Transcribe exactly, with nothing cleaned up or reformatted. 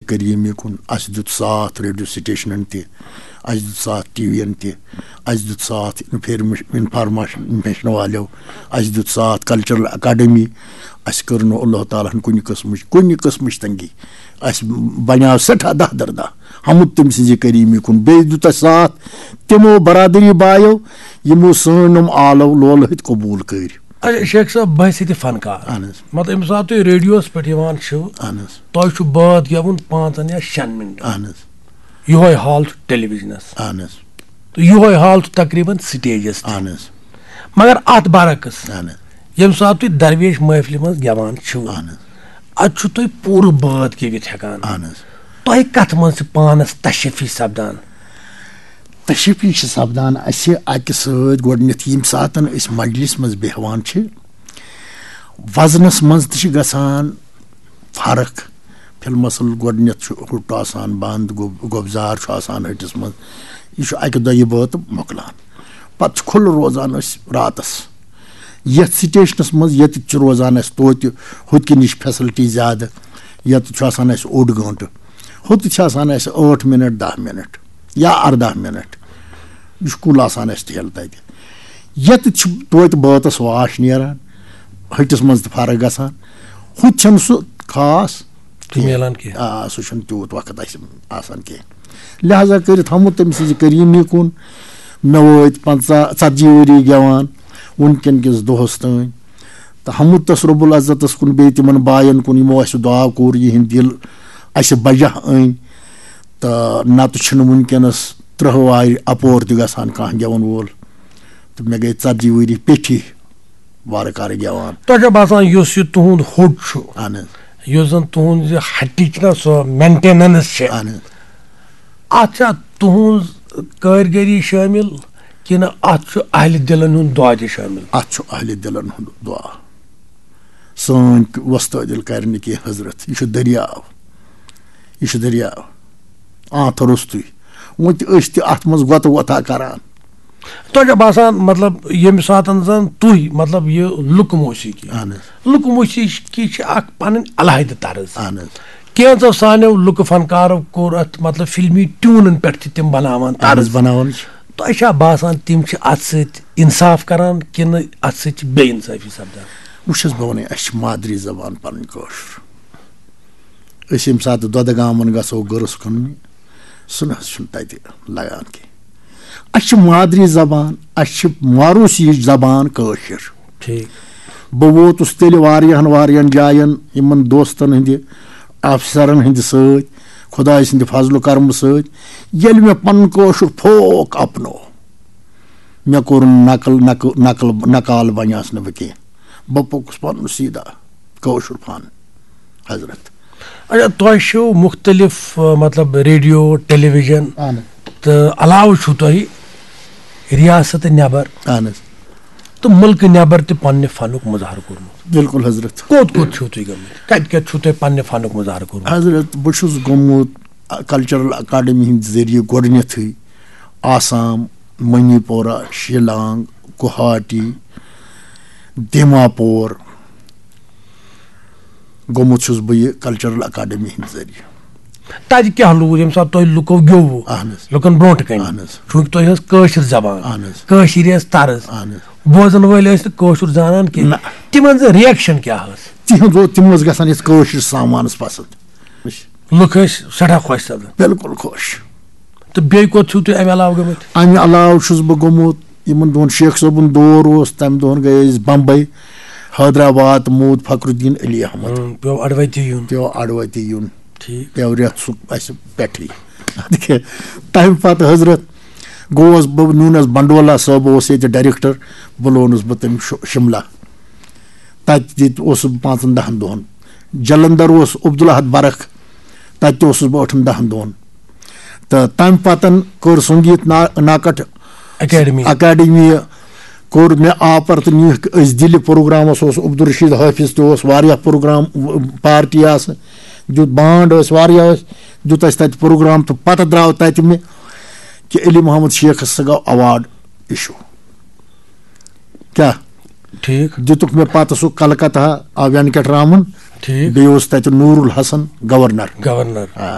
کریٖمی کُن، اَسہِ دیُت ساتھ ریڈیو سٹیشنن تہِ، اَسہِ دیُت ساتھ ٹی وی ین تہِ، اَسہِ دیُت ساتھ انفارمیش-، انفارمیشن والٮ۪و، اَسہِ دیُت ساتھ کلچرل اکیڈمی۔ اَسہِ کٔر نہٕ اللہ تعالیٰ ہن کُنہِ قٕسمٕچ، کُنہِ قٕسمٕچ تنگی۔ اَسہِ بنیٛاو سٮ۪ٹھاہ داہ در داہ حمد تٔمۍ سٕنٛزِ کریٖمی کُن۔ بیٚیہِ دیُت اَسہِ ساتھ تِمو برادری بایو، یِمو سٲنۍ یِم آلو لولہٕ ہٕتۍ قبوٗل کٔرۍ۔ اچھا، شیخ صٲب، بحث تہِ فنکار۔ اہن حظ۔ مطلب، ییٚمہِ ساتہٕ تُہۍ ریڈیوس پٮ۪ٹھ یِوان چھِو، اہن حظ۔ تۄہہِ چھُ بٲتھ گٮ۪وُن پانٛژن یا شٮ۪ن منٹن۔ اہن حظ۔ یِہوٚے حال چھُ ٹیلی وِجنس۔ اہن حظ۔ تہٕ یِہوٚے حال چھُ تقریباً سٹیجس تہِ۔ اہن حظ۔ مگر اتھ برعکس، اہن حظ۔ ییٚمہِ ساتہٕ تُہۍ درویش محفلہِ منٛز گٮ۪وان چھِو، اہن حظ۔ اتہِ چھُ تُہۍ پوٗرٕ بٲتھ گٮ۪وِتھ ہٮ۪کان۔ اہن حظ۔ تۄہہِ کتھ منٛز چھِ پانس تشفی سپدان؟ تشفی چھِ سپدان اَسہِ اَکہِ سۭتۍ گۄڈٕنٮ۪تھ، ییٚمہِ ساتَن أسۍ مجلِس منٛز بیٚہوان چھِ، وزنَس منٛز تہِ چھِ گژھان فرق۔ فی المثل، گۄڈٕنٮ۪تھ چھُ ہُٹ آسان بنٛد، گۄب-، گۄبزار چھُ آسان ہٹِس منٛز، یہِ چھُ اَکہِ دۄیہِ بٲتہٕ مۄکلان۔ پَتہٕ چھُ کھُلہٕ روزان أسۍ راتَس۔ یَتھ سٹیشنَس منٛز ییٚتہِ چھِ روزان اَسہِ توتہِ ہُتہِ کِنۍ یہِ چھِ فیسلٹی زیادٕ، ییٚتہِ چھُ آسان اَسہِ اوٚڑ گٲنٛٹہٕ، ہُتہِ چھِ آسان اَسہِ ٲٹھ مِنٹ، دَہ مِنٹ۔ یا اَرداہ مِنٹ۔ یہِ چھُ کُل آسان اَسہِ ٹھیلہٕ تَتہِ۔ ییٚتہِ چھُ توتہِ بٲتَس واش نیران، ۂٹِس منٛز تہِ فرق گژھان۔ ہُتہِ چھَنہٕ سُہ خاص تہِ کینٛہہ۔ میلان کینٛہہ۔ آ، سُہ چھُنہٕ تیوٗت وقت اَسہِ آسان کینٛہہ۔ لہذا کٔرِتھ ہمو تٔمۍ سٕنٛزِ کریٖمی کُن۔ مےٚ وٲتۍ پنٛژاہ، ژتجی ؤری گٮ۪وان وٕنکٮ۪ن کِس دۄہَس تام۔ تہٕ حمد تس رب العزتس کُن، بیٚیہِ تِمن باین کُن، یِمو اَسہِ دعا کوٚر، یِہِنٛدۍ دِل اَسہِ بجا أنۍ۔ تہٕ نتہٕ چھِنہٕ وٕنکیٚنس ترٕٛہ وارِ اپور تہِ گژھان کانٛہہ گٮ۪وَن وول۔ تہٕ مےٚ گٔے ژتجی ؤری پیٚٹھی وارٕ کارٕ گٮ۪وان۔ تۄہہِ چھا باسان، یُس یہِ تُہُنٛد ہوٚٹ چھُ، اہن حظ۔ یُس زن تُہُنٛد یہِ ہٹِچ چھِ نا، سۄ مینٹیننس چھِ، اہن حظ۔ اتھ چھا تُہٕنٛز کٲرگٔری شٲمِل، کِنہٕ اتھ چھُ اہلِ دِلن ہُنٛد دعا تہِ شٲمِل؟ اتھ چھُ اہلِ دِلن ہُنٛد دعا۔ سٲنۍ وۄستٲدِل کرِ نہٕ کینٛہہ حضرت۔ یہِ چھُ دٔریاو۔ یہِ چھُ دٔریاو۔ آنتھ روٚستُے۔ وۄنۍ تہِ أسۍ تہِ اتھ منٛز گۄتہٕ وۄتھا کران۔ تۄہہِ چھا باسان، مطلب، ییٚمہِ ساتن زن تُہۍ، مطلب، یہِ لُکہٕ موسیقی، اہن حظ۔ لُکہٕ موسیقی چھِ اکھ پنٕنۍ علاحدٕ طرز۔ اہن حظ۔ کینٛژو سانیو لُکہٕ فنکارو کوٚر اتھ، مطلب، فلمی ٹیونن پٮ۪ٹھ تہِ تِم بناوان اہن حظ، طرز۔ بناوان چھِ۔ تۄہہِ چھا باسان، تِم چھِ اتھ سۭتۍ انصاف کران کِنہٕ اتھ سۭتۍ چھِ بے انصٲفی سپدان؟ وٕچھ حظ، بہٕ وَنَے، اَسہِ چھِ مادری زبان پَنٕنۍ کٲشُر۔ أسۍ ییٚمہِ ساتہٕ دۄدٕ گامَن گژھو گٔرٕس کٕننہِ، سُہ نہ حظ چھُنہٕ تَتہِ لگان کینٛہہ۔ اَسہِ چھِ مادری زبان، اَسہِ چھِ موروثی زبان کٲشِر۔ ٹھیٖک۔ بہٕ ووتُس تیٚلہِ واریاہَن واریاہَن جایَن یِمَن دوستَن ہٕنٛدِ، افسرَن ہٕنٛدِ سۭتۍ، خۄداے سٕنٛدِ فضل و کرمہٕ سۭتۍ، ییٚلہِ مےٚ پَنُن کٲشُر فوک اَپنوو، مےٚ کوٚر نقل، نقل، نقل، نقال بنیاس نہٕ بہٕ کینٛہہ۔ بہٕ پوٚکُس پنُن سیٖدا کٲشُر فن، حضرت۔ اچھا، تۄہہِ چھُو مُختٔلِف، آ، مطلب، ریڈیو، ٹیلی ویژن اہن۔ تہٕ علاوٕ چھُو تۄہہِ ریاست نٮ۪بر اہن حظ۔ تہٕ مُلکہٕ نٮ۪بر تہِ پننہِ فنُک مظاہرٕ کوٚرمُت۔ بِلکُل حضرت۔ کوٚت کوٚت چھِو تُہۍ گٔمٕتۍ؟ کتہِ کتہِ چھُو تۄہہِ پننہِ فنُک مظاہرٕ کوٚرمُت؟ حضرت، بہٕ چھُس گوٚمُت کلچرل اکیڈمی ہٕنٛدِ ذٔریعہٕ گۄڈٕنیتھٕے آسام، منی پورہ، شیلانگ، گوہاٹی، دیما پور۔ گوٚمُت چھُس بہٕ یہِ کلچرل اکیڈمی ہٕنٛدِ ذٔریعہٕ۔ تَتہِ کیٛاہ لوٗر ییٚمہِ ساتہٕ تۄہہِ لُکو گیوٚوٕ؟ اہن حظ۔ لُکن برونٛٹھ کَنہِ؟ اہن حظ۔ چوٗنٛکہِ تۄہہِ ٲس کٲشِر زبان، اہن حظ۔ کٲشِر ٲس طرز۔ اہن حظ۔ بوزن وٲلۍ ٲسۍ نہٕ کٲشُر زانان کینٛہہ۔ نہ۔ تِمن زٕ ریکشن کیٛاہ ٲس؟ تِہنٛز اوس، تِم ٲسۍ گژھان یَتھ کٲشِر سامانس پسنٛد۔ لُکھ ٲسۍ سٮ۪ٹھاہ خۄش سپدان۔ بِلکُل خۄش۔ تہٕ بیٚیہِ کوٚت چھِو تُہۍ اَمہِ علاوٕ گٔمٕتۍ؟ اَمہِ علاوٕ چھُس بہٕ گوٚمُت، یِمن دۄہن شیخ صٲبُن دور اوس، تَمہِ دۄہن گٔے أسۍ بمبے، حیدرآباد، موٗد فخر الدین علی احمد۔ ہُم، پیوٚو اَڈٕ وَتی یُن۔ پیوٚو اَڈٕ وَتی یُن۔ ٹھیٖک۔ پیوٚو رٮ۪تھ سُہ اَسہِ پٮ۪ٹھٕے۔ تَمہِ پتہٕ حضرت گوس بہٕ، نیوٗنس بنڈولا صٲب اوس ییٚتہِ ڈائریکٹر، بُلونس بہٕ تٔمۍ شُ-، شملہ۔ تَتہِ تہِ اوسُس بہٕ پانٛژن دَہن دۄہن۔ جلندر اوس عبدالاحد برکھ، تَتہِ تہِ اوسُس بہٕ ٲٹھن دَہن دۄہن۔ تہٕ تَمہِ پتن کٔر سنگیت نا-، ناکٹ اکیڈمی۔ اکیڈمی کوٚر مےٚ آپر تہٕ نیوٗکھ أسۍ دِلہِ پروگرامس۔ اوس عبدالرشید حافظ تہِ اوس، واریاہ پروگرام، پارٹی آسہٕ، دیُت بانڈ ٲسۍ، واریاہ ٲسۍ، دیُت اَسہِ تَتہِ پروگرام تہٕ پتہٕ درٛاو تَتہِ مےٚ کہِ علی محمد شیخس سا گوٚو ایوارڈ issue۔ کیٛاہ؟ ٹھیٖک۔ دِتُکھ مےٚ پتہٕ سُہ کلکتہ، آ، وینکٹ رامن۔ ٹھیٖک۔ بیٚیہِ اوس تَتہِ نوٗر الحسن گورنر۔ گورنر۔ آ۔